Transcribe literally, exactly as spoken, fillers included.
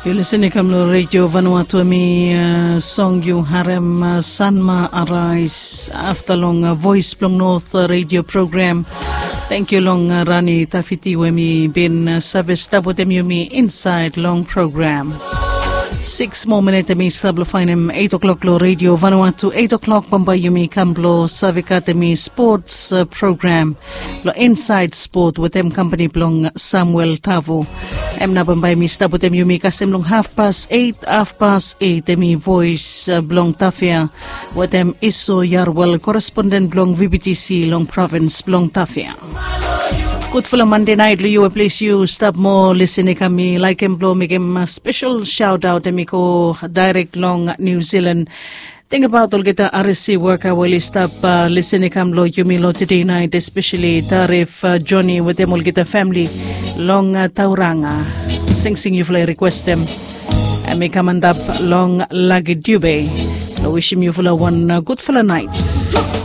Yu lisin i kam long redio Vanuatu, em i song yu harem, Sanma Arais afta long Voice blong North redio program. Tenkyu long Rani Tafiti we mi bin save stap wetem yumi insaed long program. Six moa minit em i stap long fainem eight o'clock long redio Vanuatu. Eight o'clock bambae yumi kam blong save katem i sports program long Inside Sport wetem kampani blong Samuel Tavu. Em na bambae mi stap wetem yumi kasem long hafpas eight, hafpas eight em i Voice blong Tafia wetem Iso Yarwel, koresponden blong V B T C long provins blong Tafia. Gudfala Mande naet long yu we ples yu stap moa lisin i kam. Mi laikim blong mekim spesel shaotaot em i go daerek long Niu Zilan. Tingbaot olgeta R S C woka we oli stap lisin i kam long yumi long tede naet, espeseli Tarif, Joni wetem olgeta famili long Tauranga. Singsing yufala i rikwestem, em i kam antap long Lagi Dube. Long wisim yufala wan gudfala naet.